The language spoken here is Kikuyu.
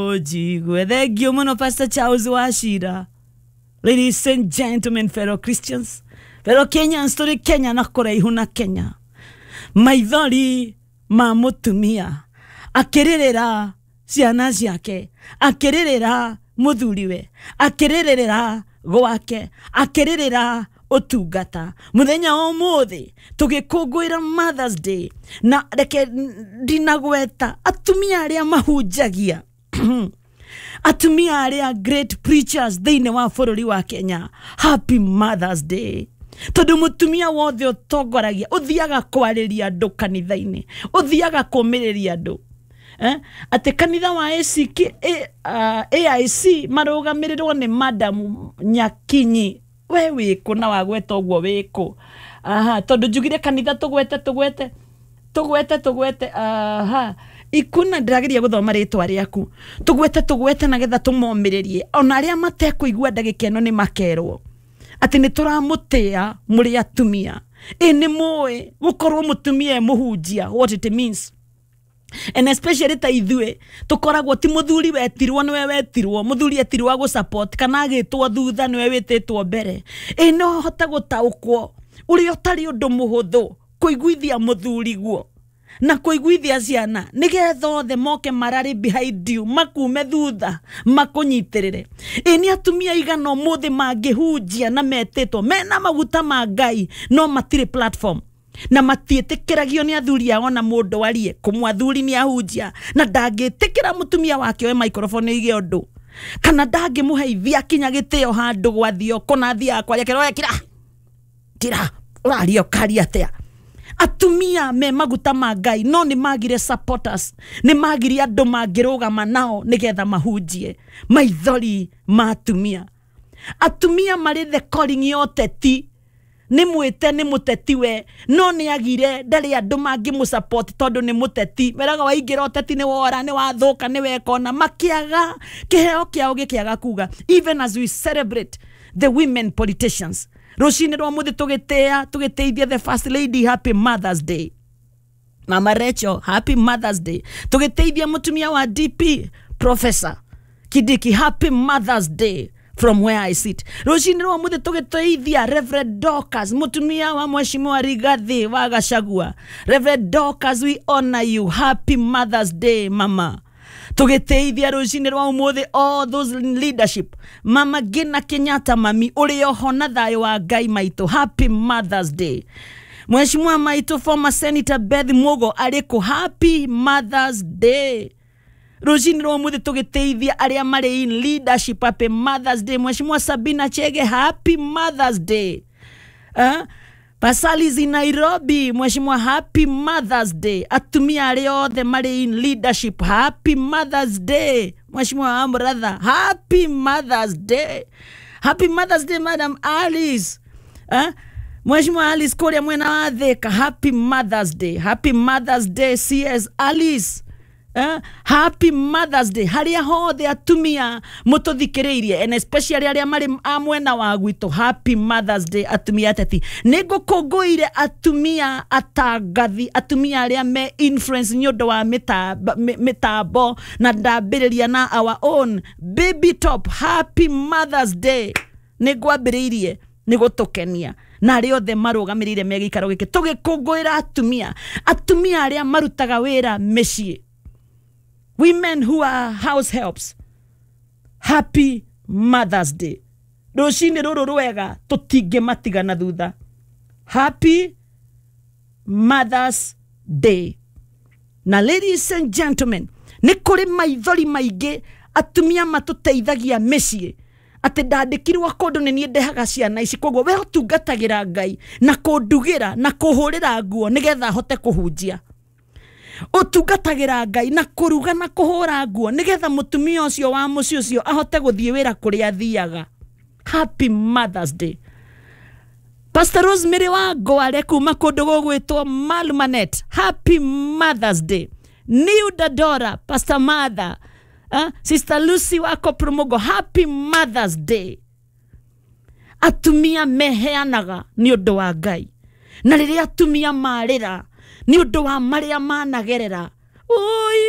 Njigue thengio muno Pastor Charles Wachira. Ladies and gentlemen, fellow Christians, fellow Kenyans, tũrĩ Kenya na kũraihu na Kenya. Maithori ma mũtumia akĩrĩrĩra ciana ciake, akĩrĩrĩra mũthuriwe, akĩrĩrĩra gwake, akĩrĩrĩra ũtungata. Mũthenya wa ũmũthĩ tũgĩkũngũĩra Mother's Day, na reke ndinagweta atumia arĩa mahunjagia atumia arĩa great preachers thĩinĩ wa bũrũri wa Kenya, happy Mother's Day. Tondũ mũtumia wothe ũtongoragia, ũthiaga kwarĩria andũ kanitha-inĩ, ũthiaga kũmĩrĩria andũ, atĩ kanitha wa ACK, AIC marũgamĩrĩrwo nĩ Madam Nyakinyi. We wĩkũ na wagweta ũguo wĩkũ? Aha, tondũ njugire kanitha tũgwete tũgwete tũgwete tũgwete. Aha, ikuna ndĩrageria gũthoma rĩtwa rĩaku. Tũgwete tũgwete nagetha tũmomĩrĩrie ona arĩa matekũigua ndagĩka ĩno nĩ makerwo atĩ nĩ tũramũtĩa mũrĩ atumia. Ĩ nĩ mũĩ gũkorwo mũtumia e mũhunjia, what it means? And especially ta ithuĩ tũkoragwo ti mũthuri wetirwo nĩwe wetirwo, mũthuri etirwo agũ support kana agĩtwo thutha nĩwe wĩtĩtwo mbere. Ĩ no hote gũtaũkwo ũrĩa ũtarĩ ũndũ mũhũthũ kũiguithia mũthuri guo na kũiguithia ciana nĩgetha othe moke mararĩ behind you, makume thutha makũnyitĩrĩre. Ĩ nĩ atumia igana ũmũthĩ mangĩhunjia na metĩtwo mena maguta ma Ngai no matirĩ platform na matiĩtĩkĩragio nĩ athuri ao na mũndũ arie kũmwe athuri nĩ ahunjia na ndangĩtĩkĩra mũtumia wake oe microphone oige ũndũ kana ndangĩmũheithia kinya gĩtĩo handũ gwathio kũna athiaga kwaria kĩroya kira kira ũraria ũkaria atĩa. Atumia me maguta ma Ngai no nĩ magire supporters, nĩ magire andũ mangĩrũgama nao nĩgetha mahunjie. Maithori ma atumia. Atumia marĩ the calling ya ũteti, nĩ mwĩte nĩ mũteti we no nĩ agire ndarĩ andũ mangĩmũ support tondũ nĩ mũteti. Meraga waingĩra ũteti nĩ wora, nĩ wathũka, nĩ wekona. Makĩaga kĩheo kĩao gĩkĩaga kuga. Even as we celebrate the women politicians rũcinĩ rwa mũthĩ tũgĩtĩa tũgĩtĩithia the first lady, happy Mother's Day. Mama Rachel, happy Mother's Day. Tũgĩtĩithia mũtumia wa DP Professor Kindiki, happy Mother's Day from where I sit. Rũcinĩ rwa mũthĩ tũgĩtĩithia Reverend Dorcas, mũtumia wa Mheshimiwa Rigathi wa Gachagua. Reverend Dorcas, we honor you, happy Mother's Day mama. Tũgĩtĩithia rũcinĩ rwa ũmũthĩ all those in leadership, Mama Gina Kenyatta, mami ũrĩ oho na thayũ wa Ngai maitũ, happy Mother's Day. Mheshimiwa maitũ former Senator Beth Mugo arĩkũ, happy Mother's Day. Rũcinĩ rwa ũmũthĩ tũgĩtĩithia arĩa marĩ in leadership, happy Mother's Day. Mheshimiwa Sabina Chege, happy Mother's Day. Pasalizi Nairobi, Mheshimiwa, happy Mother's Day. Atumia arĩa othe marĩ in leadership, happy Mother's Day. Mheshimiwa wa brother, happy Mother's Day. Happy Mother's Day Madam Alice. Mheshimiwa Alice kũrĩa mwena wa Thika, happy Mother's Day. Happy Mother's Day CS Alice. Happy Mother's Day harĩa hothe atumia mũtũthikĩrĩirie and especially arĩa marĩ a mwena wa gwitũ, happy Mother's Day atumia ateti. Nĩ ngũkũngũire atumia atangathi, atumia arĩa me influence nĩ ũndũ wa mĩtambo na ndambĩrĩria na our own Baby Top, happy Mother's Day. Nĩ ngwambĩrĩirie nĩ gũtũkenia na arĩa othe marũgamĩrĩire me gĩikaro gĩkĩ tũgĩkũngũĩra atumia, atumia arĩa marutaga wĩra mĩciĩ, women who are house helps, happy Mother's Day. Rũcinĩ rũrũ rwega tũtingĩmatigana thutha, happy Mother's Day. Na ladies and gentlemen, nĩ kũrĩ maithori maingĩ atumia matũteithagia mĩciĩ atĩ ndandĩkirwo kũndũ nĩ niĩ ndehaga ciana ici, koguo we ũtungatagĩra Ngai na kũndugĩra na kũhũrĩra nguo nĩgetha hote kũhunjia. Ũtungatagĩra Ngai na kũruga na kũhũra nguo nĩgetha mũtumia ũcio wa mũciĩ ũcio ahote gũthiĩ wĩra kũrĩa athiaga. Happy Mother's Day. Pastor Rosemary wa Ngware kuma kũndũ gũgwĩtwo Malumanet, happy Mother's Day. New Dadora, Pastor Mother, Sister Lucy wa Kopromogo, happy Mother's Day. Atumia meheanaga nĩ ũndũ wa Ngai, na rĩrĩa atumia marĩra nĩ ũndũ wa marĩa managerera, oi.